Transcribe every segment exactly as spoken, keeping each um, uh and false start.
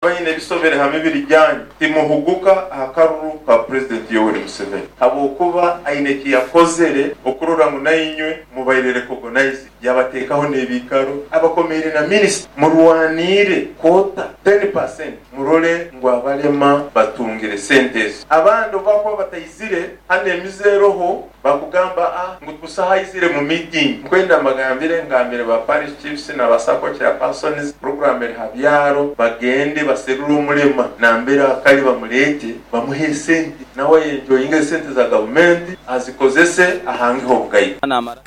Bayine ebisobere ha mibiri gyanyu, timuhuguka aha karuru ka Purezidenti Yoweri Museveni habwokuba aine eki yakozere okurora ngu nainywe mubaire recognized, yabateekaho n'ebiikaro, abakomeire na minisita. Murwaniire quota ten percent, murole ngu abalema batungire sente ezo. Abandi obu bakuba bataizire hanu emize eroho, bakugamba ah ngu busaho aizire mu meeting. Nkwenda mbagambire, ngambire ba parish chiefs na ba SACCO chairpersons, program eri ha byaro, bagende baserure omulema nambere akari bamureete, bamuhe esente, nawe ayenjoyinge esente za gavumenti azikozese ahangeho obugaiga.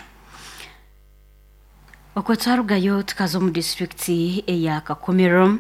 Okwo twarugayo tukaza omu disitulikiti eya Kakumiro.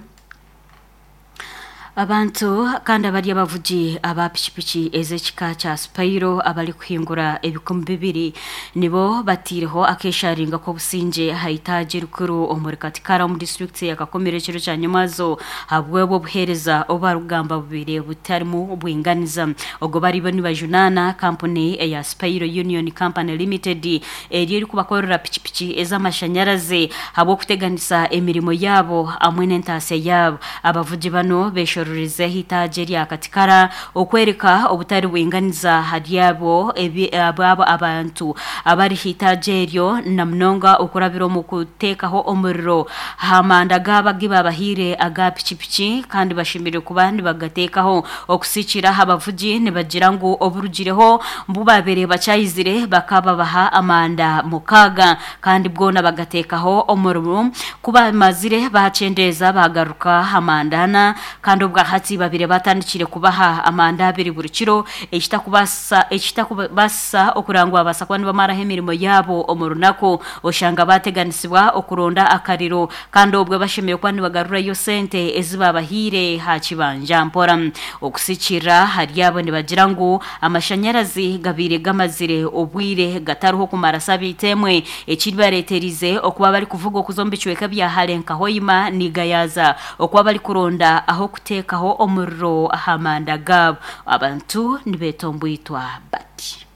Abantu kandi abari abavugi aba pikipiki ez'ekika kya Spiro abarikuhingura ebikumi bibiri nibo bataireho akesharinga k'obusingye aha itaagi erikuru omuri Katikara omu disitulikiti ya Kakumiro ekiro kya nyomwazo ahabw'obwo obuheereza obu barikugamba bubaire butarimu bwinganiza. Obwo baribo nibajunaana kampuni eya Spiro Union Company Limited eri erikubakorera pikipiki ez'amashanyarazi ahabw'okuteganisa emirimo yaabo hamwe n'entaasya yaabo. Abavugi bano beshororize itaagi erya Katikara okwereka obutari bwinganiza ahari abo ebi abo abantu abari itaagi eryo na munonga okurabira omu kuteekaho omuriro aha manda gaabo agu babahaire aga pikipiki kandi bashemereire kuba nibagateekaho. Okusikira aha bavugi nibagira ngu oburugireho bu babaire bakyayizire bakababaha amanda mukaaga kandi bwona bagateekaho omuriro, ku bamazire bakyendeeza bagaruka aha manda ana kandi obwahati babire batandikire kubaha amanda abiri buri kiro, ekitakubaasa ekitakubaasisa okurangwa babaasa kuba nibamaraho emirimo yaabo omu runaku, oshanga bateganisibwa okuronda akariro kandi obwo bashemereire kuba nibagarurayo sente ezi babahaire aha kibanja mpora. Okusikira ahari abo nibagira ngu amashanyarazi gabaire gamazire obwire gatariho kumara sabiiti emwe, ekibareeterize okuba barikuvuga okuza omu bicweka bya hare nka Hoima Nigayaza okuba barikuronda ah'okuteekaho omuriro aha manda gaabo. Abantu nibeetombwitwa bati.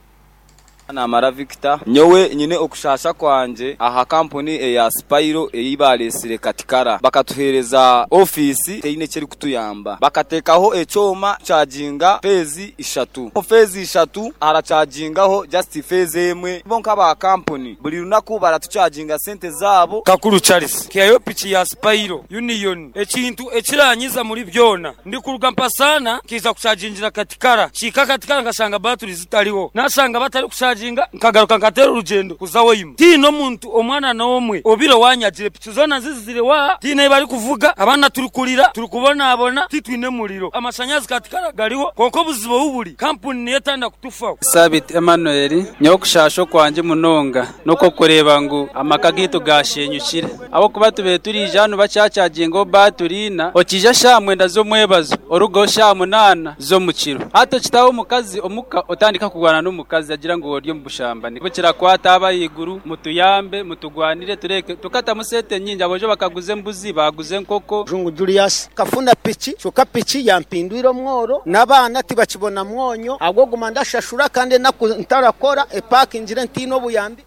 Namara Victor, nyowe nyine okushasha kwangye aha kampuni eya Spiro ei bareesire Katikara. Bakatuheereza ofiisi teine eki erikutuyamba. Bakateekaho ekyoma kuchaginga phase ishatu. Omu phase ishatu harachagingaho just phase emwe. Bo nk'aba kampuni buri runaku baratuchaginga sente zaabo. Kakuru Charles, nkihayo piki ya Spiro Union. Ekintu ekiranyiza muri byona, ndikuruga Mpasaana nkiija kuchagingira Katikara. Kihika Katikara nkashanga baturi zitariho. Nashanga batarikuchaginga nkagaruka nkateera orugyendo kuza Hoima. Tihaine omuntu omwana n'omwe obire wanyagire piki zoona zizire wa tihaine ei barikuvuga, abaana turikurira turikubonabona titwine muriro. Amashanyarazi Katikara gariho kwonka obuzibu obu buri kampuni niyo etanda kutufaho. Sabiti Emmanuel, nyowe okushasha okwangye munonga n'okw'okureeba ngu amaka gaitu gashenyukire ahabw'okuba tubaire turiija hanu bakyachagingaho baturi ina, okiija shaaha mwenda z'omwebazo orugaho shaaha munaana z'omukiro. Hati okitaho omukazi omuka otandika kurwana n'omukazi agira ngu ori omu bushambani. Bukirakwata aba ahaiguru mutuyambe mutugwanire tureke tukatamu sente nyingi, aboojo bakaguza embuzi baguza enkoko. Jungu Julius, nkafuna piki kyonka piki yampindwire omworo n'abaana tibakibona mwonyo ahabw'okuguma ndashashura kandi enaku ntarakora epakingire ntiine obuyambi.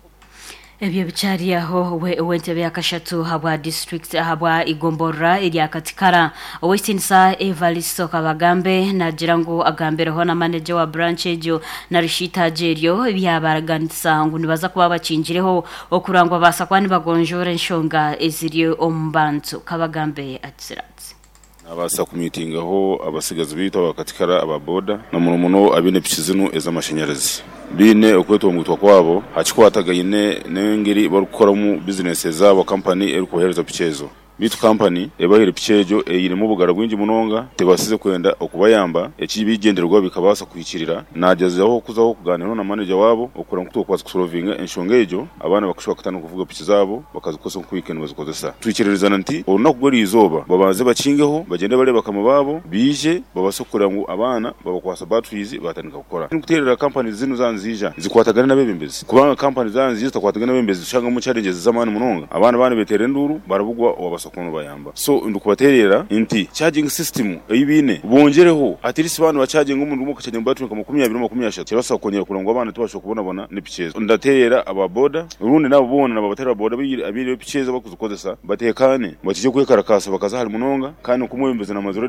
Ebyo bikyari aho we ow'entebe ya kashatu ahabwa district ahabwa igomborora erya Katikara Ow'ekitiinisa Evaristo Kabagambe naagira ngu agambireho na manager wa branch egyo narishi itaagi eryo byabaraganisa ngu nibaza kuba bakingireho okurangwa babaasa kuba nibagonjoora enshonga eziri omu bantu. Kabagambe agira ati. Nabaasa kumiitingaho abasigazi baitu aba Katikara aba boda na muno muno abaine piki zinu ez'amashanyarazi. Baine okwetongwitwa kwabo aha kikwatagaine n'engeri barikukoramu bizinesi zaabo kampani erikubaheereza piki ezo. Beitu kampani ebahaire piki egyo einemu obugara bwingi munonga tebasize kwenda okubayamba ekibigyendererwa bikabaasa kuhikirira. Nagyezaho kuzaho kugaaniiraho na manager waabo okureba ngu twokubaasa kusolovinga enshonga egyo abaana bakashuba bakatandika kuvuga piki zaabo bakazikozesa nk'oku wiikendi bazikozesa. Twikiririzana nti orunaku rw'eriizooba babanze bakingeho bagyende bareebe bakama baabo baije babaase kureba ngu abaana babakwasa batteries batandika kukora. Nikuteerera kampani zinu zaaba niziija zikwatagane n'abeebembezi kubanga kampani zaaba niziija zitakwatagane n'abeebembezi tushangamu challenges z'amaani munonga. Abaana baaba nibeeteera enduuru barabugwa owabaasa kuba nibayamba. So ndikubateerera nti charging system ei baine bongyereho at least baaba nibachaginga omurundi gumwe bakachaginga battery nka makumi abiri makumi ashatu kirabaasa kwongyera kureba ngu abaana tibashobora kubonabona n'epiki ezo. Ndateerera aba boda orundi naabo boona nababateerera boda abaine epiki ezo abarikuzikozesa bateekaane bakije kwekarakaasa bakaza hare munonga kandi nk'omwebembezi namazire.